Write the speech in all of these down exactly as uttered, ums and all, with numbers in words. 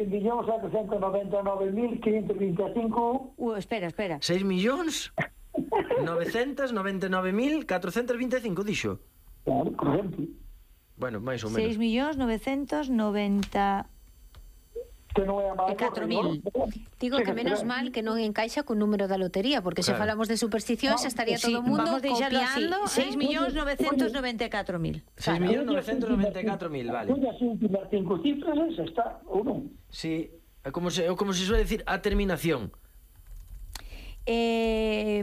seis millóns setecientos noventa e nove mil quinhentos vinte e cinco. Uh, espera, espera. seis millóns novecentos noventa e nove mil catrocentos vinte e cinco, dixo. Claro, por exemplo. Bueno, máis ou menos. seis millóns novecientos noventa Que non é a máis. e catro mil. Digo que menos mal que non encaixa cun número da lotería, porque se Claro. falamos de supersticións estaría Sí, todo o mundo vamos deixalo copiando. así. seis millóns novecientos noventa e catro mil. seis millóns novecientos noventa e catro mil, vale. Unha últimas cinco cifras, esa está, ou non? Sí, é como se, é como se suele decir a terminación. Eh,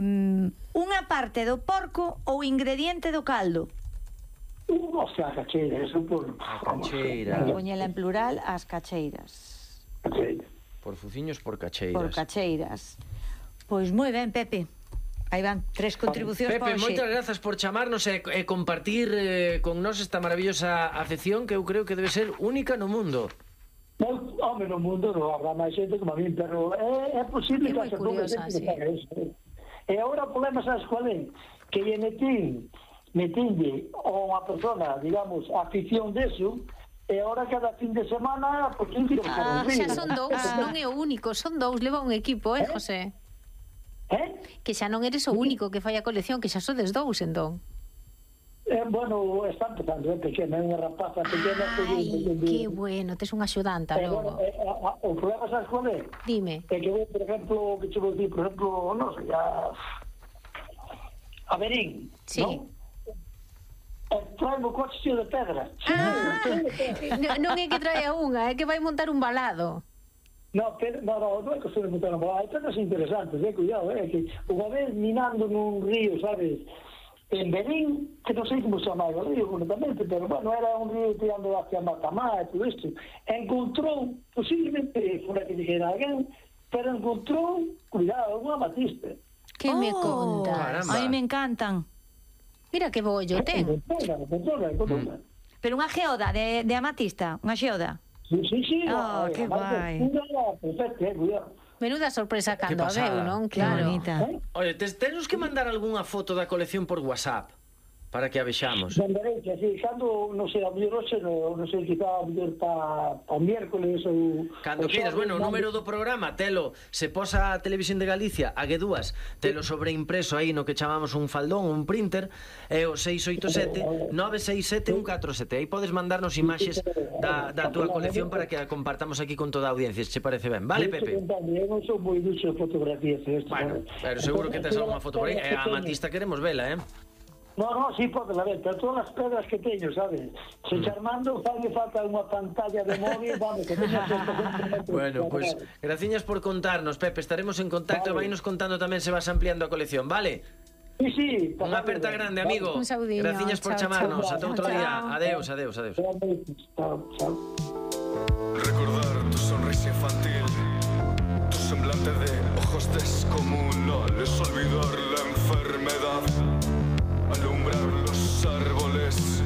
unha parte do porco ou ingrediente do caldo. O sea, cacheira, eso por... A cacheira. Poñela en plural, as cacheiras. Cacheira. Por fuciños, por cacheiras. Por cacheiras. Pois moi ben, Pepe. Aí van, tres contribucións Pepe, para hoxe. moitas grazas por chamarnos e, e compartir eh, con nós esta maravillosa afección que eu creo que debe ser única no mundo. Non, home, no mundo non habrá máis xente como a mí, pero é, é posible É que moi hace pouco curiosa, xente sí. que faga eso. E agora o problema, sabes cuál é? Que lle metín, metinlle a unha persona, digamos, afición deso, e agora cada fin de semana, por quince por Ah, un xa río. son dous, non é o único, son dous, leva un equipo, eh, José? Eh? Que xa non eres o único que fai a colección, que xa sodes dous, entón. Eh, bueno, está empezando, é pequena, é unha rapaza pequena. Ai, que bueno, tes unha axudanta Eh, bueno, logo. eh, a, a, o problema, sabes cuál é? Dime. É que, por exemplo, que che vou dicir, por exemplo, non sei, a... a Berín, Sí. non? E traen o coche cheo de pedra. Ah, no, non é que trae a unha, é que vai montar un balado. No, pero, no, no, non é que se me montaron. Hai pedras interesantes, eh, cuidado, eh, que unha vez minando nun río, sabes, en Berín, que non sei como se chama o río, completamente, pero, bueno, era un río tirando hacia Matamá e todo isto. Encontrou, posiblemente, fora que dijera alguén, pero encontrou, cuidado, unha amatista. Que me Oh, contas? Caramba. Ai, me encantan. Mira que bollo ten. Encontroula, encontroula, encontroula. Pero unha geoda de, de amatista, unha geoda. Sí, sí, sí. Oh, a- que a- guai. Unha perfecta, eh, cuidado. Menuda sorpresa cando a pasada. veu, non? Que Claro. bonita. Eh? Oye, tes, tenos que mandar algunha foto da colección por WhatsApp para que a vexamos. Mandarei, que así, cando, non sei, a mellor hoxe, non no sei, quizá a mellor pa, pa miércoles ou... Cando ou queiras, xoves, bueno, o non? número do programa, telo, se posa a Televisión de Galicia, a Guedúas, telo sobreimpreso aí no que chamamos un faldón, un printer, é o seis oito sete, nove seis sete, un catro sete. Aí podes mandarnos imaxes da, da túa colección para que a compartamos aquí con toda a audiencia, se che parece ben. Vale, Pepe? Eu non sou moi duxo de fotografías. Esto, Bueno, pero seguro que tes algunha foto por aí. E a amatista queremos vela, eh? No, no, sí, pode la ver, pero todas as pedras que teño, sabes? Se charmando, fai falta unha pantalla de móvil, vamos, que teña Bueno, pues graciñas por contarnos, Pepe. Estaremos en contacto e Vale. vainos contando tamén se vas ampliando a colección, vale? Sí, sí. Unha aperta grande, amigo. Un saudiño. Graciñas por Chao, chamarnos. chao. Ata outro Chao. día. Adeus, adeus, adeus. Chao, chao. Recordar tu sonrisa infantil, tu semblante de ojos descomunales, olvidar la enfermedad, alumbrar los árboles,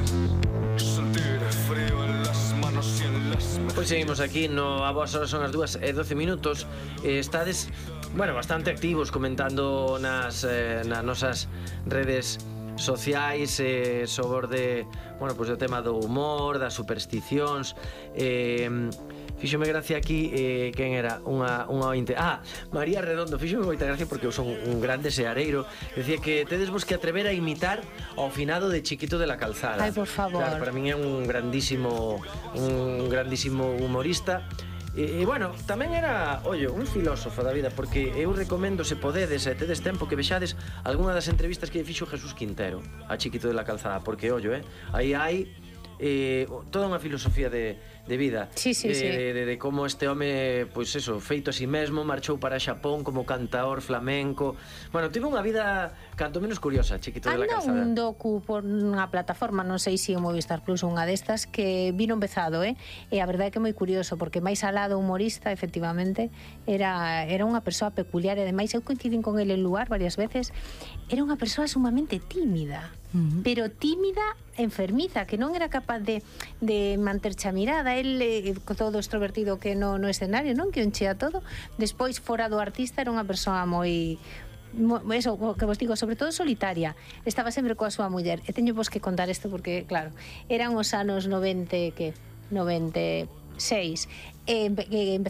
sentir frío en las manos y en las mejillas. Pois seguimos aquí no A Boas Horas, son as dúas e doce minutos. eh, Estades, bueno, bastante activos comentando nas, eh, nas nosas redes sociais eh, sobre, bueno, pois o tema do humor, das supersticións. eh, Fíxome gracia aquí, eh, quen era? Unha, unha ointe. Ah, María Redondo, fíxome moita gracia porque eu son un grande seareiro. Decía que tedes vos que atrever a imitar ao finado de Chiquito de la Calzada. Ai, por favor. Claro, para min é un grandísimo un grandísimo humorista. E, e bueno, tamén era, ollo, un filósofo da vida, porque eu recomendo, se podedes e tedes tempo, que vexades algunha das entrevistas que lle fixo Jesús Quintero a Chiquito de la Calzada, porque ollo, eh, aí hai eh, toda unha filosofía de, de vida. Sí, sí, eh, sí. De, de, de como este home, pois pues eso, feito a si mesmo, marchou para Xapón como cantaor flamenco. Bueno, tivo unha vida canto menos curiosa, Chiquito de la Anda Calzada. un docu por unha plataforma, non sei se o Movistar Plus ou unha destas, que vino empezado, eh? E a verdade é que é moi curioso, porque máis alá do humorista, efectivamente, era, era unha persoa peculiar, e ademais eu coincidín con ele en lugar varias veces, era unha persoa sumamente tímida, Uh-huh. pero tímida enfermiza, que non era capaz de, de manterche a mirada. El, eh, todo extrovertido que no, no escenario, non? Que o enchea todo. Despois, fora do artista, era unha persoa moi... mo- eso, o que vos digo, sobre todo solitaria. Estaba sempre coa súa muller. E teño vos que contar isto porque, claro, eran os anos noventa, que noventa e seis, e empe- que empezaba